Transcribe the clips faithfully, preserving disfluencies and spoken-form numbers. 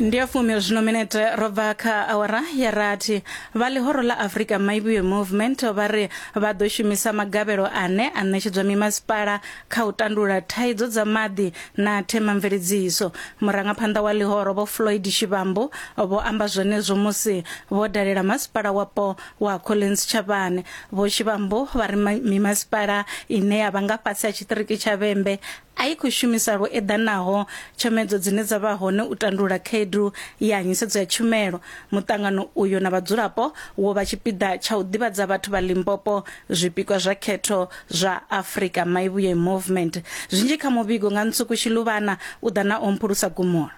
Ndi ya fumi zwino minete ro bva kha awara ya rathi. Vha ḽihoro ḽa Africa Maivhuye Movement vha ri vha ḓo shumisa magavhelo ane a ṋetshedzwa mimasipala kha u tandulula thaidzo dza maḓi na themamveledziso. Murangaphanḓa wa ḽihoro Vho Floyd Shivambu vho amba zwenezwo musi vho dalela masipala wapo wa Collins Chabane. Vho Shivambu vha ri mimasipala ine ya vha nga fhasi ha tshiṱiriki tsha Vhembe a i khou shumisa lwo eḓanaho tshomedzo dzine dza vha hone u tandulula khaedu ya nyisedzo ya tshumelo. Muṱangano uyo na vhadzulapo wo vha tshipiḓa tsha u ḓivhadza vhathu vha Limpopo zwipikwa zwa khetho zwa Africa Maivhuye Movement. Zwinzhi kha muvhigo nga Ntsuku Shiluvana u ḓa na Omphulusa Gumula.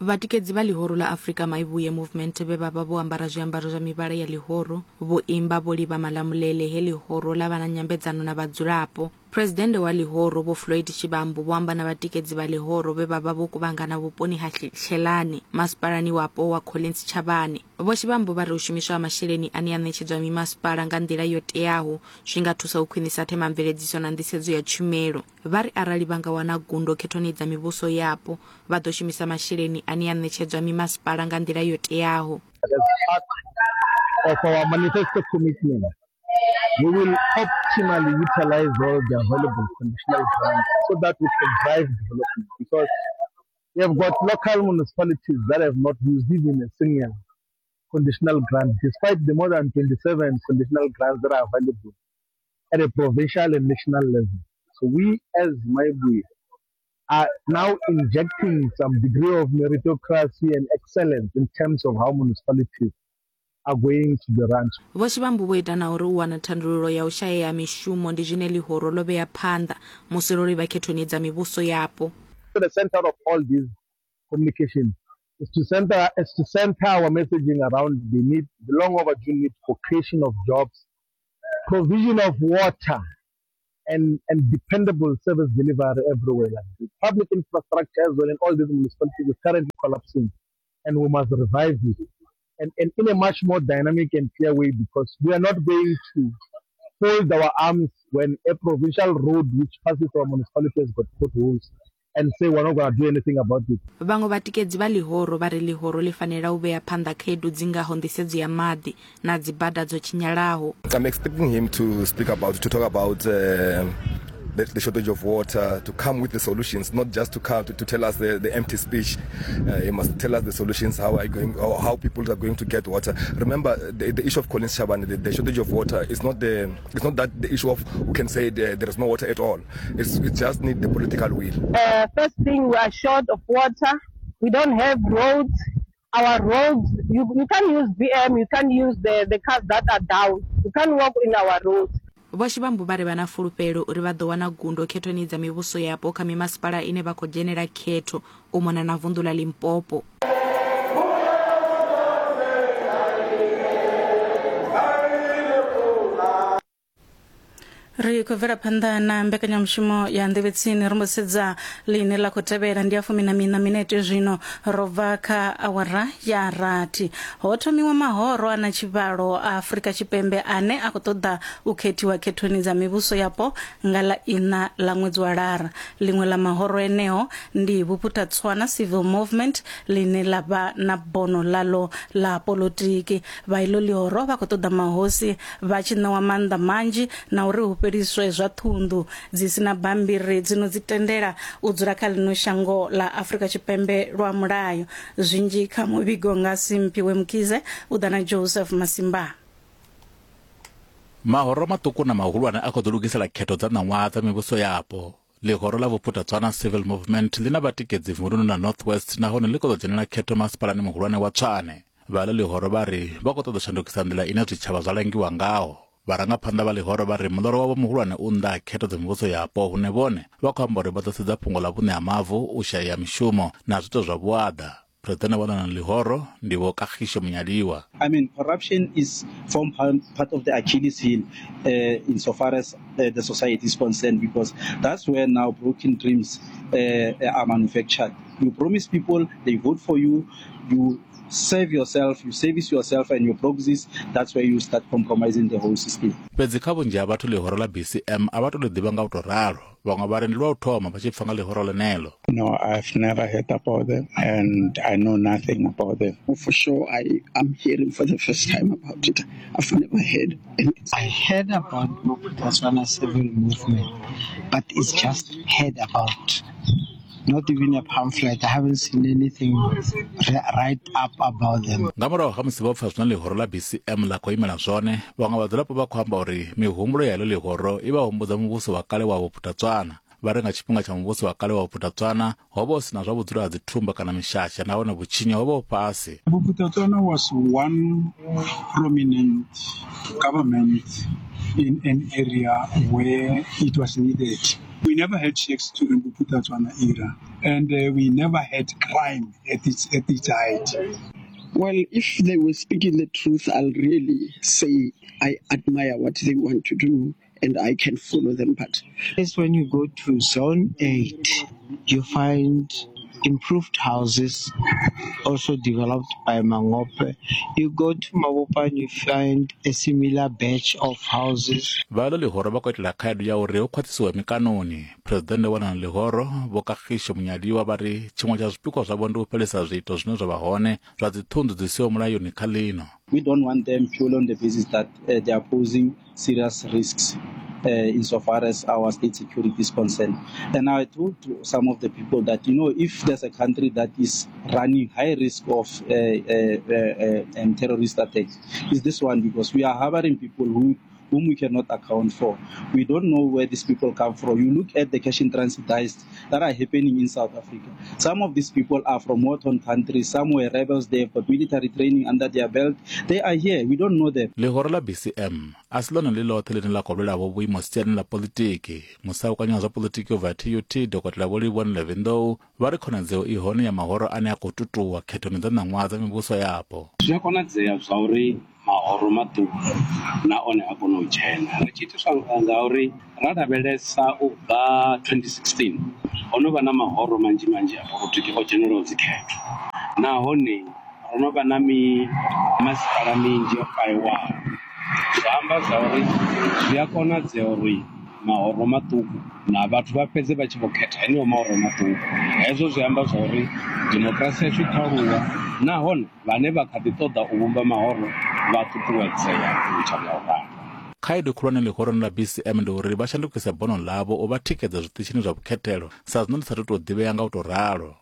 Vhatikedzi vha ḽihoro ḽa Africa Maivhuye Movement vhe vha vha vho ambara zwiambaro zwa mivhala ya ḽihoro vho imba vho livha Malamulele he ḽihoro ḽa vha na nyambedzano na vhadzulapo. Presidennde wa ḽihoro Vho Floyd Shivambu vho amba na vhatikedzi vha ḽihoro vhe vha vha vho kuvhangana vhuponi ha Hlelani masipalani wapo wa Collins Chabane. Vho Shivambu vha ri u shumiswa ha masheleni ane a ṋetshedzwa mimasipala nga nḓila yo teaho zwi nga thusa u khwinisa themamveledziso na nḓisedzo ya tshumelo. Vha ri arali vha nga wana gundo khethoni dza mivhuso yapo vha ḓo shumisa masheleni ane a ṋetshedzwa mimasipala nga nḓila yo teaho. Of our manifesto commitment, we will optimally utilize all the available conditional grants so that we can drive development, because we have got local municipalities that have not used even a single conditional grant, despite the more than twenty-seven conditional grants that are available at a provincial and national level. So we as Maivhuye are now injecting some degree of meritocracy and excellence in terms of how municipalities are going to be run. Vho Shivambu vho ita na uri u wana thandululo ya u shayea mishumo ndi zwine ḽihoro ḽo vhea phanḓa musi ro livha khethoni dza mivhuso yapo. The center of all these communication is to center is to center our messaging around the need, the long overdue need for creation of jobs, provision of water, and, and dependable service delivery everywhere. Like the public infrastructure as well in all these municipalities is currently collapsing, and we must revive it. And, and in a much more dynamic and clear way, because we are not going to fold our arms when a provincial road which passes our municipality has got potholes and say we're not going to do anything about it. Vhaṅwe vhatikedzi vha ḽihoro vha ri ḽihoro ḽi fanela u vhea phanḓa khaedu dzi ngaho nḓisedzo ya maḓi na dzibada dzo tshinyalaho. I'm expecting him to speak about, to talk about uh, the, the shortage of water, to come with the solutions, not just to come to, to tell us the, the empty speech. Uh, he must tell us the solutions, how are going, or how people are going to get water. Remember, the, the issue of Collins Chabane, the, the shortage of water is not the, it's not that the issue of who can say there, there is no water at all. It's, it just need the political will. Uh, first thing, we are short of water. We don't have roads. Our roads, you, you can't use B M, you can't use the, the cars that are down. You can't walk in our roads. Vho Shivambu vha ri vha na fulufhelo uri vha ḓo wana gundo khethoni dza mivhuso yapo kha mimasipala ine vha khou dzhenela khetho u mona na vunḓu ḽa Limpopo. Ri khou bvela phanḓa na mbekanyamushumo ya nḓevhetsini ri mbo sedza ḽine ḽa khou tevhela ndi ya fumi na miṋa minete zwino ro bva kha awara ya rathi. Ho thomiwa mahoro a na tshivhalo a Afrika Tshipembe ane a khou ṱoḓa u khethiwa khethoni dza mivhuso yapo nga ḽa iṋa ḽa ṅwedzi wa Lara. Ḽiṅwe ḽa mahoro eneo ndi Bophuthatswana Civil Movement ḽine ḽa vha na bono ḽaḽo ḽa polotiki. Vha iḽo ḽihoro vha khou ṱoḓa mahosi vha tshi ṋewa maanḓa manzhi na uri hu fheliswe zwa ṱhunḓu dzi sina bammbiri dzino dzi tendela u dzula kha ḽino shango ḽa Afrika Tshipembe lwa mulayo. Zwinzhi kha muvhigo nga Simphiwe Mkhize u ḓa na Joseph Masimba. Mahoro maṱuku na mahulwane a khou ḓo lugisela khetho dza ṋaṅwaha dza mivhuso yapo. Ḽihoro ḽa Bophuthatswana Civil Movement ḽi na vhatikedzi vunduni na North West nahone ḽi khou ḓo dzhenela khetho masipalani muhulwane wa Tshwane. Vha ḽo ḽihoro vha ri vha khou ṱoḓa u shandukisa nḓila ine zwitshavha zwa langiwa ngaho. Vharangaphanḓa vha ḽihoro vha ri muḽoro wavho muhulwane u nnḓa ha khetho dza mivhuso yapo hune vhone vha khou amba uri vha ḓo sedza fhungo ḽa vhuṋe ha mavu, u shaya mishumo na zwiito zwa vhuaḓa. Presidennde wa ḽona ḽihoro ndi Vho Kagisho Munyaliwa. I mean, corruption is form part of the Achilles heel uh, insofar as uh, the society is concerned, because that's where now broken dreams uh, are manufactured. You promise people, they vote for you, you save yourself, you service yourself and your proxies. That's where you start compromising the whole system. Fhedzi kha vhunzhi ha vhathu ḽihoro ḽa B C M a vha to ḽi ḓivha nga u tou ralo. Vhaṅwe vha ri ndi lwa u thoma vha tshi pfa nga ḽihoro ḽeneḽo. No, I've never heard about them and I know nothing about them. For sure, I am hearing for the first time about it. I've never heard anything. I heard about Bophuthatswana Civil Movement, but it's just heard about. Not even a pamphlet. I haven't seen anything right up about them. Nga murahu ha musi vho pfa zwine ḽihoro ḽa B C M ḽa khou imela zwone, vhaṅwe vhadzulapo vha khou amba uri mihumbulo ya heḽo ḽihoro i vha humbudza muvhuso wa kale wa Bophuthatswana. Vha ri nga tshifhinga tsha muvhuso wa kale wa Bophuthatswana ho vha hu si na zwa vhudzulo ha dzithumba kana mishasha, nahone vhutshinyi ho vha hu fhasi. Bophuthatswana was one prominent government in an area where it was needed. We never had sheikhs during the Bophuthatswana era, and uh, we never had crime at its, at its height. Well, if they were speaking the truth, I'll really say I admire what they want to do and I can follow them. But it's when you go to Zone eight, you find improved houses also developed by Mangope. You go to Mabopa and you find a similar batch of houses. Vha ḽo ḽihoro vha khou itela khaedu ya uri hu khwaṱhisiwe mikanoni. Phresidennde wa ḽano ḽihoro Vho Kagisho Munyadiwa vha ri tshiṅwe tsha zwipikwa zwavho ndi u fhelisa zwiito zwine zwa vha hone zwa dziṱhunḓu dzi siho mulayoni kha ḽino. We don't want them purely on the basis that uh, they are posing serious risks uh, insofar as our state security is concerned. And I told some of the people that, you know, if there's a country that is running high risk of uh, uh, uh, um, terrorist attacks, is this one, because we are harboring people who whom we cannot account for. We don't know where these people come from. You look at the cash in transit heists that are happening in South Africa. Some of these people are from war-torn countries. Some were rebels. They've got military training under their belt. They are here. We don't know them. Ḽihoro ḽa B C M a si ḽone ḽi ḽoṱhe ḽine ḽa khou lwela vho vhuimo siani ḽa politiki. Musaukanyi wa zwa politiki ubva T U T Dokotela Vho Livhuwani Levendou vha ri khonadzeo i hone ya mahoro ane a khou tutuwa khethoni dza ṋaṅwaha dza mivhuso yapo. Zwi a konadzea zwa uri mahoro maṱuku na one a kona u dzhena. Ri tshi itiswa ngauri ra lavhelesa u bva twenty sixteen ho no vha na mahoro manzhi manzhi a polotiki o dzhenelaho dzikhetho, nahone ro no vha na mi masipala minzhi o fhaṱiwaho. Zwa amba zwa uri zwi a konadzea uri mahoro maṱuku na vhathu vha fhedze vha tshi vho khetha eneo mahoro maṱuku. Hezwo zwi amba zwa uri demokirasi yashu i khou aluwa, nahone vhane vha kha ḓi ṱoḓa u vhumba mahoro vha ṱuṱuwedzea u ita nga u ralo. Khaedu khulwane ḽihoroni ḽa B C M ndi uri vha shandukise bono ḽavho u vha tikedza zwiṱitshini zwa vhukhethelo sa zwino ḽi sa tou ḓivhea nga u tou ralo.